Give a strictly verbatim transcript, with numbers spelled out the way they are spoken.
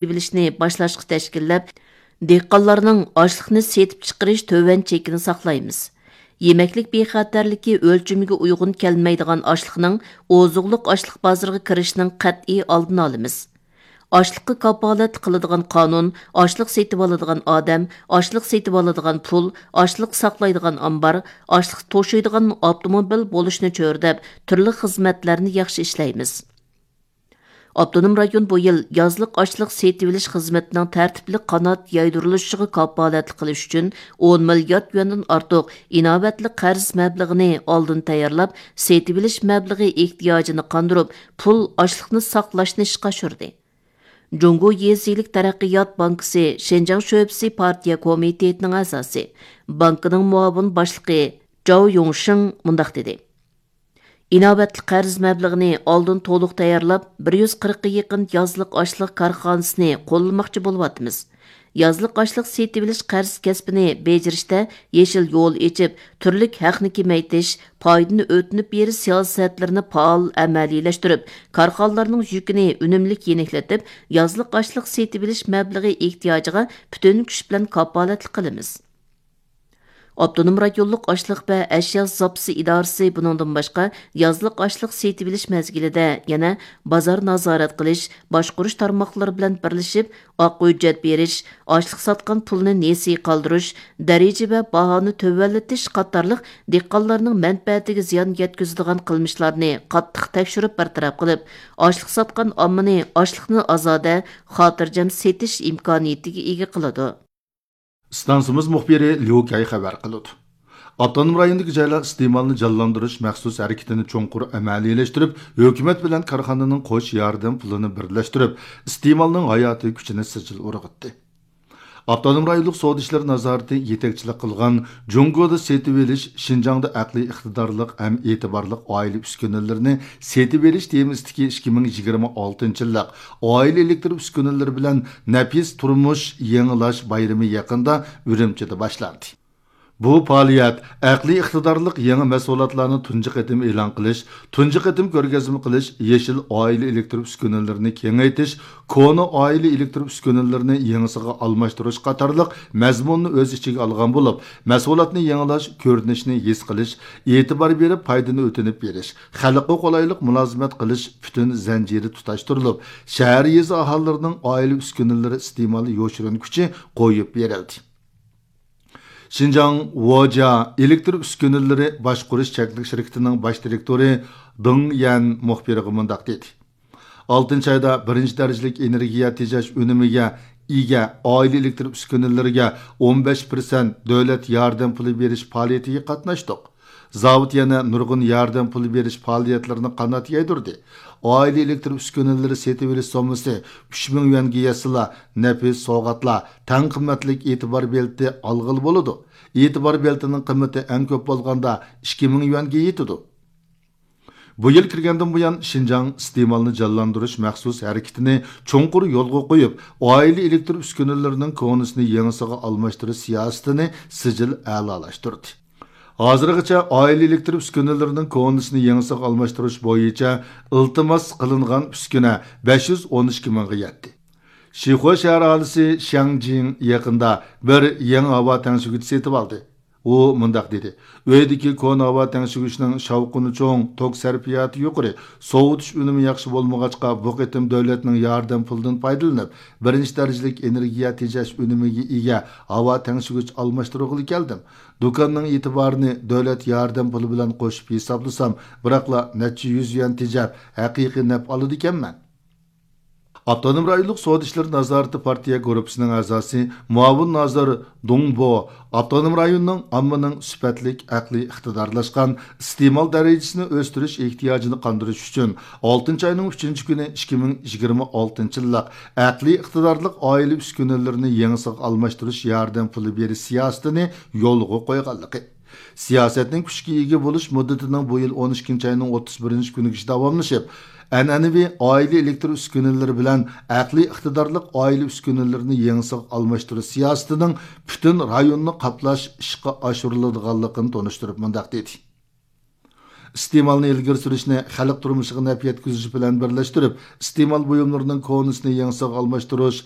سېتىۋېلىشنى باشلاشقا تەشكىللەپ، دېھقانلارنىڭ ئاشلىقنى سېتىپ چىقىرىش تۆۋەن چېكىنى ساقلايمىز. يېمەكلىك بىخەتەرلىكى ئۆلچىمىگە ئۇيغۇن كەلمەيدىغان ئاشلىقنىڭ ئوزۇقلۇق ئاشلىق بازىرىغا كىرىشىنىڭ قەتئىي ئالدىنى ئالىمىز. ئاشلىققا كاپالەتلىك قىلىدىغان قانۇن، ئاشلىق سېتىۋالىدىغان ئادەم، ئاشلىق سېتىۋالىدىغان پۇل، ئاشلىق ساقلايدىغان ئامبار، ئاشلىق توشۇيدىغان ئاپتوموبىل بولۇشنى چۆرىدەپ، تۈرلۈك خىزمەتلەرنى ياخشى ئىشلەيمىز. ئاپتونوم رايون بۇ يىل يازلىق ئاشلىق سېتىۋېلىش خىزمىتىنىڭ تەرتىپلىك قانات يايدۇرۇلۇشىغا كاپالەتلىك قىلىش ئۈچۈن ئون مىليارد يۈەندىن ئارتۇق ئىناۋەتلىك قەرز مەبلىغىنى ئالدىن تەييارلاپ، سېتىۋېلىش مەبلىغى ئېھتىياجىنى قاندۇرۇپ، پۇل ئاشلىقنى ساقلاشنى ئىشقا ئاشۇردى. جۇڭگو يېزا ئىگىلىك تەرەققىيات بانكىسى شىنجاڭ شۆبىسى پارتىيە كومىتېتىنىڭ ئەزاسى، بانكىنىڭ مۇئاۋىن باشلىقى جاۋ يۇڭشېڭ مۇنداق دېدى: ئىناۋەتلىك قەرز مەبلىغىنى ئالدىن تولۇق تەييارلاپ، بىر يۈز قىرىققا يېقىن يازلىق ئاشلىق كارخانىسىنى قوللىماقچى بولۇۋاتىمىز. يازلىق ئاشلىق سېتىۋېلىش قەرز كەسپىنى بېجىرىشتە يېشىل يول ئېچىپ، تۈرلۈك ھەقنى كېمەيتىش، پايدىنى ئۆتۈنۈپ بېرىش سىياسەتلىرىنى پائال ئەمەلىيلەشتۈرۈپ، كارخانىلارنىڭ يۈكىنى ئۈنۈملۈك يېنىكلىتىپ، يازلىق ئاشلىق سېتىۋېلىش مەبلىغى ئېھتىياجىغا پۈتۈن كۈچ بىلەن كاپالەتلىك قىلىمىز. ئاپتونوم رايونلۇق ئاشلىق ۋە ئەشيا زاپىسى ئىدارىسى بۇنىڭدىن باشقا، يازلىق ئاشلىق سېتىۋېلىش مەزگىلىدە يەنە بازار نازارەت قىلىش، باشقۇرۇش تارماقلىرى بىلەن بىرلىشىپ، ئاق ھۆججەت بېرىش، ئاشلىق ساتقان پۇلنى نېسى قالدۇرۇش، دەرىجە ۋە باھانى تۆۋەنلىتىش قاتارلىق دېھقانلارنىڭ مەنپەئەتىگە زىيان يەتكۈزىدىغان قىلمىشلارنى قاتتىق تەكشۈرۈپ بىر تەرەپ قىلىپ، ئاشلىق ساتقان ئاممىنى ئاشلىقنى ئازادە، خاتىرجەم سېتىش ئىمكانىيىتىگە ئىگە قىلىدۇ. ئىستانسىمىز مۇخبىرى ليۇ كەي خەۋەر قىلىدۇ. ئاپتونوم رايوندىكى جايلار ئىستېمالنى جانلاندۇرۇش مەخسۇس ھەرىكىتىنى چوڭقۇر ئەمەلىيلەشتۈرۈپ، ھۆكۈمەت بىلەن كارخانىنىڭ قوش ياردەم پۇلىنى بىرلەشتۈرۈپ، ئىستېمالنىڭ ھاياتىي كۈچىنى سىجىل ئۇرغۇتتى. ئاپتونوم رايونلۇق سودا ئىشلىرى نازارىتى يېتەكچىلىك قىلغان جۇڭگودا سېتىۋېلىش شىنجاڭدا ئەقلىي ئىقتىدارلىق ھەم ئېتىبارلىق ئائىلە ئۈسكۈنىلىرىنى سېتىۋېلىش تېمىسىدىكى ئىككى مىڭ يىگىرمە ئالتىنچى يىللىق ئائىلە ئېلېكتر ئۈسكۈنىلىرى بىلەن نەپىس تۇرمۇش يېڭىلاش بايرىمى يېقىندا ئۈرۈمچىدە باشلاندى. بۇ پائالىيەت ئەقلىي ئىقتىدارلىق يېڭى مەھسۇلاتلارنى تۇنجى قېتىم ئېلان قىلىش، تۇنجى قېتىم كۆرگەزمە قىلىش، يېشىل ئائىلە ئېلېكتر ئۈسكۈنىلىرىنى كېڭەيتىش، كونا ئائىلە ئېلېكتر ئۈسكۈنىلىرىنى يېڭىسىغا ئالماشتۇرۇش قاتارلىق مەزمۇننى ئۆز ئىچىگە ئالغان بولۇپ، مەھسۇلاتنى يېڭىلاش، كۆرۈنۈشنى ھېس قىلىش، ئېتىبار بېرىپ پايدىنى ئۆتۈنۈپ بېرىش، خەلققە قولايلىق مۇلازىمەت قىلىش پۈتۈن زەنجىرى تۇتاشتۇرۇلۇپ، شەھەر، يېزا ئاھالىلىرىنىڭ ئائىلە ئۈسكۈنىلىرى ئىستېمالى يوشۇرۇن كۈچى قويۇپ بېرىلدى. شىنجاڭ ۋوجيا ئېلېكتر ئۈسكۈنىلىرى باشقۇرۇش چەكلىك شىركىتىنىڭ باش دىرېكتورى دېڭ يەن مۇخبىرغا مۇنداق دېدى: ئالتىنچى ئايدا بىرىنچى دەرىجىلىك ئېنېرگىيە تېجەش ئۈنۈمىگە ئىگە ئائىلە ئېلېكتر ئۈسكۈنىلىرىگە ئون بەش پىرسەنت دۆلەت ياردەم پۇلى بېرىش پائالىيىتىگە قاتناشتۇق. زاۋۇت يەنە نۇرغۇن ياردەم پۇلى بېرىش پائالىيەتلىرىنى قانات يايدۇردى. ئائىلە ئېلېكتر ئۈسكۈنىلىرى سېتىۋېلىش سوممىسى ئۈچ مىڭ يۈەنگە يەتسىلا، نەپىس سوۋغاتلار، تەڭ قىممەتلىك ئېتىبار بېلىتى ئالغىلى بولىدۇ. ئېتىبار بېلىتىنىڭ قىممىتى ئەڭ كۆپ بولغاندا ئىككى مىڭ يۈەنگە يېتىدۇ. بۇ يىل كىرگەندىن بۇيان، شىنجاڭ ئىستېمالنى جانلاندۇرۇش مەخسۇس ھەرىكىتىنى چوڭقۇر يولغا قويۇپ، ئائىلە ئېلېكتر ئۈسكۈنىلىرىنىڭ كونىسىنى يېڭىسىغا ئالماشتۇرۇش سىياسىتىنى سىجىل ئەلالاشتۇردى. ھازىرغىچە ئائىلە ئېلېكتر ئۈسكۈنىلىرىنىڭ كونىسىنى يېڭىسىغا ئالماشتۇرۇش بويىچە ئىلتىماس قىلىنغان ئۈسكۈنە بەش يۈز ئون ئىككى مىڭغا يەتتى. شىخۇ شەھەر ئاھالىسى شياڭ جىڭ يېقىندا بىر يېڭى ھاۋا تەڭشىگۈچ سېتىۋالدى. ئۇ مۇنداق دېدى: ئۆيدىكى كونا ھاۋا تەڭشىگۈچنىڭ شاۋقۇنى چوڭ، توك سەرپىياتى يۇقىرى، سوۋۇتۇش ئۈنۈمى ياخشى بولمىغاچقا، بۇ قېتىم دۆلەتنىڭ ياردەم پۇلىدىن پايدىلىنىپ، بىرىنچى دەرىجىلىك ئېنېرگىيە تېجەش ئۈنۈمىگە ئىگە ھاۋا تەڭشىگۈچ ئالماشتۇرغىلى كەلدىم. دۇكاننىڭ ئېتىبارىنى دۆلەت ياردەم پۇلى بىلەن قوشۇپ ھېسابلىسام، بىراقلا نەچچە يۈز يۈەن تېجەپ، ھەقىقىي نەپ ئالىدىكەنمەن. ئاپتونوم رايونلۇق سودا ئىشلىرى نازارىتى پارتىيە گۇرۇپپىسىنىڭ ئەزاسى، مۇئاۋىن نازىر دۇڭ بو ئاپتونوم رايوننىڭ ئاممىنىڭ سۈپەتلىك، ئەقلىي ئىقتىدارلاشقان ئىستېمال دەرىجىسىنى ئۆستۈرۈش ئېھتىياجىنى قاندۇرۇش ئۈچۈن، ئالتىنچى ئاينىڭ ئۈچىنچى كۈنى ئىككى مىڭ يىگىرمە ئالتىنچى يىللىق ئەقلىي ئىقتىدارلىق ئائىلە ئۈسكۈنىلىرىنى يېڭىسىغا ئالماشتۇرۇش ياردەم پۇلى بېرىش سىياسىتىنى يولغا قويغانلىقى، سىياسەتنىڭ كۈچكە ئىگە بولۇش مۇددىتىنىڭ بۇ يىل ئون ئىككىنچى ئاينىڭ ئوتتۇز بىرىنچى كۈنىگىچە داۋاملىشىپ، ئەنئەنىۋى ئائىلە ئېلېكتر ئۈسكۈنىلىرى بىلەن ئەقلىي ئىقتىدارلىق ئائىلە ئۈسكۈنىلىرىنى يېڭىسىغا ئالماشتۇرۇش سىياسىتىنىڭ پۈتۈن رايوننى قاپلاش ئىشقا ئاشۇرۇلىدىغانلىقىنى تونۇشتۇرۇپ مۇنداق دېدى: ئىستېمالنى ئىلگىرى سۈرۈشنى خەلق تۇرمۇشىغا نەپ يەتكۈزۈش بىلەن بىرلەشتۈرۈپ، ئىستېمال بۇيۇملىرىنىڭ كونىسىنى يېڭىسىغا ئالماشتۇرۇش،